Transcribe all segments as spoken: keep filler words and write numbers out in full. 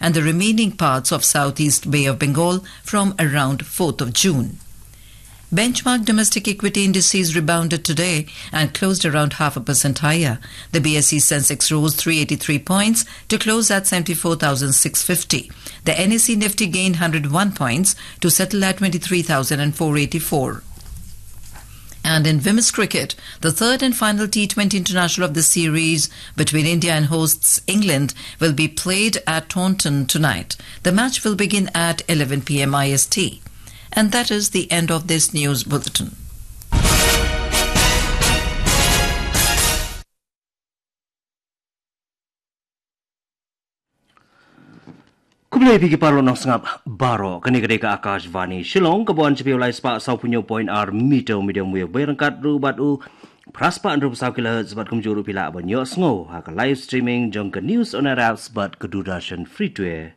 and the remaining parts of southeast Bay of Bengal from around fourth of June. Benchmark domestic equity indices rebounded today and closed around half a percent higher. The B S E Sensex rose three eighty-three points to close at seventy-four thousand six fifty. The N S E Nifty gained one hundred one points to settle at twenty-three thousand four eighty-four. And in women's cricket, the third and final T twenty international of the series between India and hosts England will be played at Taunton tonight. The match will begin at eleven p m I S T. And that is the end of this news bulletin. Khublei phi ki paralok nongsngap baroh, kane ka dei ka Akashvani Shillong, ka ban sha phi u lai spah saw phew point ar meter medium wave, bad ryngkat ruh bad u phra spah hynriew phew saw kilohertz, bad kumjuh ruh phi lah ban ïohsngew ha ka live streaming jong ka News on Air apps bad ka Doordarshan Free to Air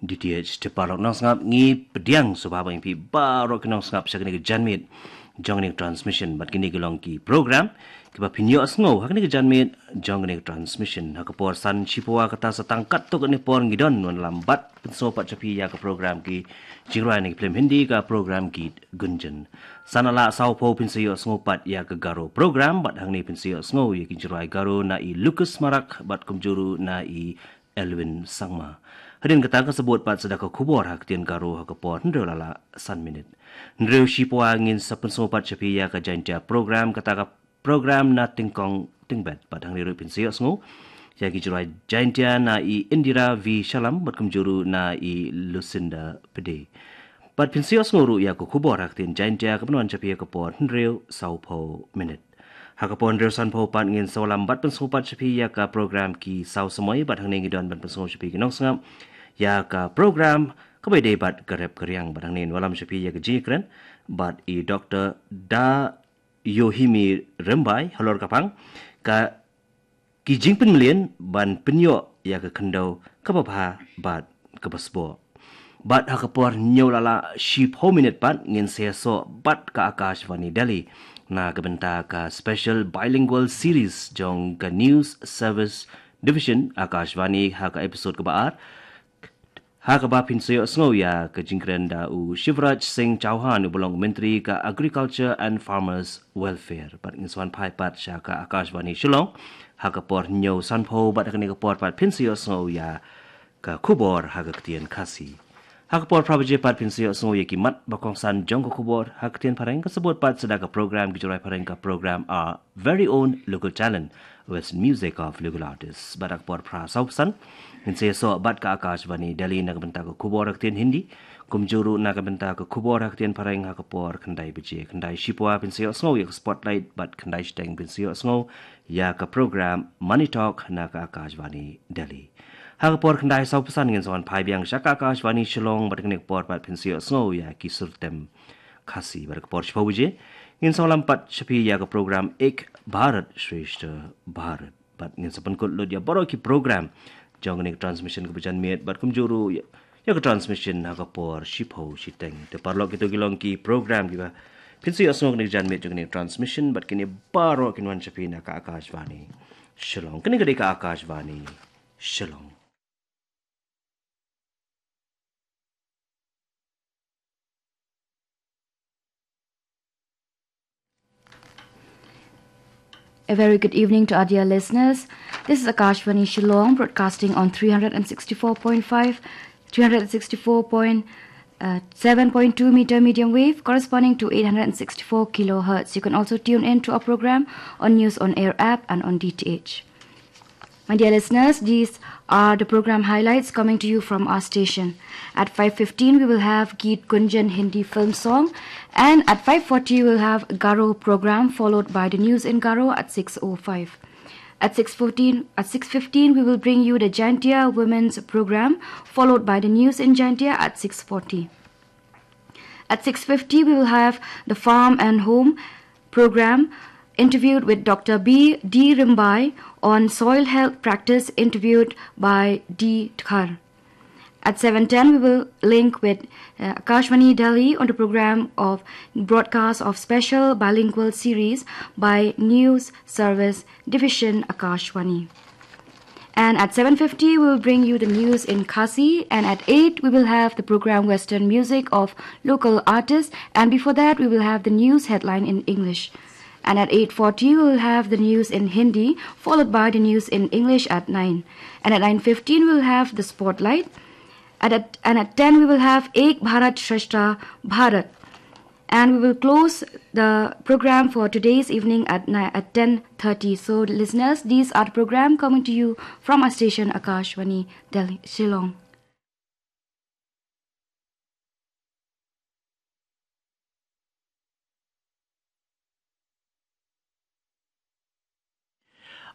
D T H. Te paralok nongsngap, ngi pdiang sngewbha ba ngi phi baroh ki nongsngap sha kane ka janmiet jong kane ka transmission, bad kine ki long ki program kiba phin ïohsngew ha kane ka janmiet jong kane ka transmission. Ha ka por san shiphew kata sa tang katto katne por ngi don wan lam bad pynsngew pat sha phi ïa ka program ki jingrwai na ki film Hindi, ka program Geet Gunjan. San la saw phew phin sa ïohsngew pat ïa ka Garo program, bad hangne phin sa ïohsngew ïa ki jingrwai Garo na i Lucas Marak bad kumjuh ruh na i Elwin Sangma. Hadien kata ka sa bud pat sa da ka khubor ha ka ktien Garo ha ka por hynriew la lah san minit. Hynriew shiphew ngin sa pynsngew pat sha phi ïa ka Jaintia program, kata ka program Na Tyngkong Tyngbet, bad hangne ruh phin sa ïohsngew ïa ki jingrwai Jaintia na i Indira V Shallam bad kumjuh ruh na i Lucinda Pede. Bad phin sa ïohsngew ruh ïa ka khubor ha ka ktien Jaintia ka ban wan sha phi ha ka por hynriew saw phew minit. Ha ka por hynriew san phew pat ngin sa wallam bad pynsngew pat sha phi ïa ka program Ki Saw Samoi, bad hangne ngi don ban pynsngew sha phi ki nongsngap ïa ka program Kaba Ïadei bad ka Rep ka Riang, bad hangne ngin wallam sha phi ïa ka jingïakren bad i Doctor Da Yohimi Rymbai halor ka phang ka ki jingpynmlien ban pynïoh ïa ka khyndew kaba bha bad kaba sboh. Bad ha ka por hynñiew la lah shiphew minit pat ngin sa ïasoh bad ka Akashvani Delhi na ka bynta ka special bilingual series jong ka News Service Division Akashvani ha ka episode kaba ar. Ha kaba phin sa ïohsngew ïa ka jingkren da u Shivraj Singh Chauhan uba long Myntri ka Agriculture and Farmers Welfare. Bad ngin sa wan phai pat sha ka Akashvani Shillong ha ka por hynñiew san phew, bad ha kane ka por pat phin sa ïohsngew ïa ka khubor ha ka ktien Khasi. Ha ka por phra baje pat phin sa ïohsngew ïa ki mat ba kongsan jong ka khubor ha ka ktien Phareng, ka sa bud pat sa da ka program Ki Jingrwai Phareng, ka program Our Very Own Local Talent, Western Music of Local Artists. Bad ha ka por phra saw phew san ngin sa ïasoh bad ka Akashvani Delhi na ka bynta ka khubor ha ka ktien Hindi, kumjuh ruh na ka bynta ka khubor ha ka ktien Phareng ha ka por khyndai baje. Khyndai shiphew phin sa ïohsngew ïa ka Spotlight, bad khyndai shiteng phin sa ïohsngew ïa ka program Money Talk na ka Akashvani Delhi. Ha ka por khyndai saw phew san ngin sa wan phai biang sha ka Akashvani Shillong, bad kane ka por pat phin sa ïohsngew ïa ki sur tem Khasi. Bad ha ka por shiphew baje ngin sa wallam pat sha phi ïa ka program Ek Bharat Shreshtha Bharat. Bad ngin sa pynkut lut ïa baroh ki program jong kane ka transmission kaba janmiet, bad kumjuh ruh ïa, ïa ka transmission ha ka por shiphew shiteng. Te paralok, kito ki long ki program kiba phin sa ïohsngew ha kane ka janmiet jong kane ka transmission, bad kine baroh kin wan sha phi na ka Akashvani Shillong. Kane ka dei ka Akashvani Shillong. A very good evening to our dear listeners. This is Akashvani Shillong, broadcasting on three hundred and sixty-four point five, three hundred sixty-four point seven point two meter medium wave, corresponding to eight hundred sixty-four kilohertz. You can also tune in to our program on News on Air app and on D T H. My dear listeners, these are the program highlights coming to you from our station. At five fifteen, we will have Geet Gunjan Hindi film song, and at five forty, we will have Garo program, followed by the news in Garo at six oh five. At six fourteen, at six fifteen, we will bring you the Jaintia Women's program, followed by the news in Jaintia at six forty. At six fifty, we will have the Farm and Home program, interviewed with Doctor B D Rimbai on soil health practice, interviewed by D Dkhar. At seven ten, we will link with, uh, Akashvani Delhi on the program of broadcast of special bilingual series by News Service Division Akashvani. And at seven fifty, we will bring you the news in Khasi. And at eight, we will have the program Western Music of local artists. And before that, we will have the news headline in English. And at eight forty, we will have the news in Hindi, followed by the news in English at nine. And at nine fifteen, we will have the spotlight. And at, and at ten, we will have Ek Bharat Shreshtha Bharat. And we will close the program for today's evening at ni-, at ten thirty. So, listeners, these are the program coming to you from our station, Akashvani Delhi, Shillong.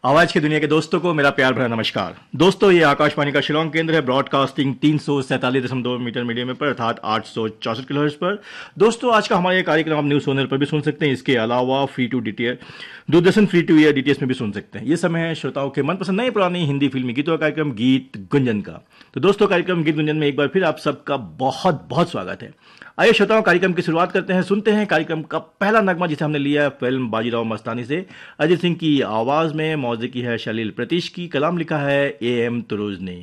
आवाज की दुनिया के दोस्तों को मेरा प्यार भरा नमस्कार। दोस्तों, ये आकाशवाणी का शिलोंग केंद्र है, ब्रॉडकास्टिंग तीन सौ सैंतालीस दशमलव दो मीटर मीडियम वेव पर, अर्थात आठ सौ चौसठ किलोहर्ट्ज पर। दोस्तों, आज का हमारा ये कार्यक्रम आप न्यूज सोनर पर भी सुन सकते हैं। इसके अलावा free to DTH, Doordarshan free to air DTH में भी सुन सकते हैं। ये समय है श्रोताओं के मनपसंद नई पुरानी हिंदी फिल्मी गीतों का कार्यक्रम गीत गुंजन का। तो दोस्तों, कार्यक्रम गीत गुंजन में एक बार फिर आप सबका बहुत बहुत स्वागत है। आइए श्रोताओं, कार्यक्रम की शुरुआत करते हैं, सुनते हैं कार्यक्रम का पहला नगमा, जिसे हमने लिया है फिल्म बाजीराव मस्तानी से। अरिजीत सिंह की आवाज में, मौसीकी है शलील प्रीतिश की, कलाम लिखा है ए एम तुरुज ने।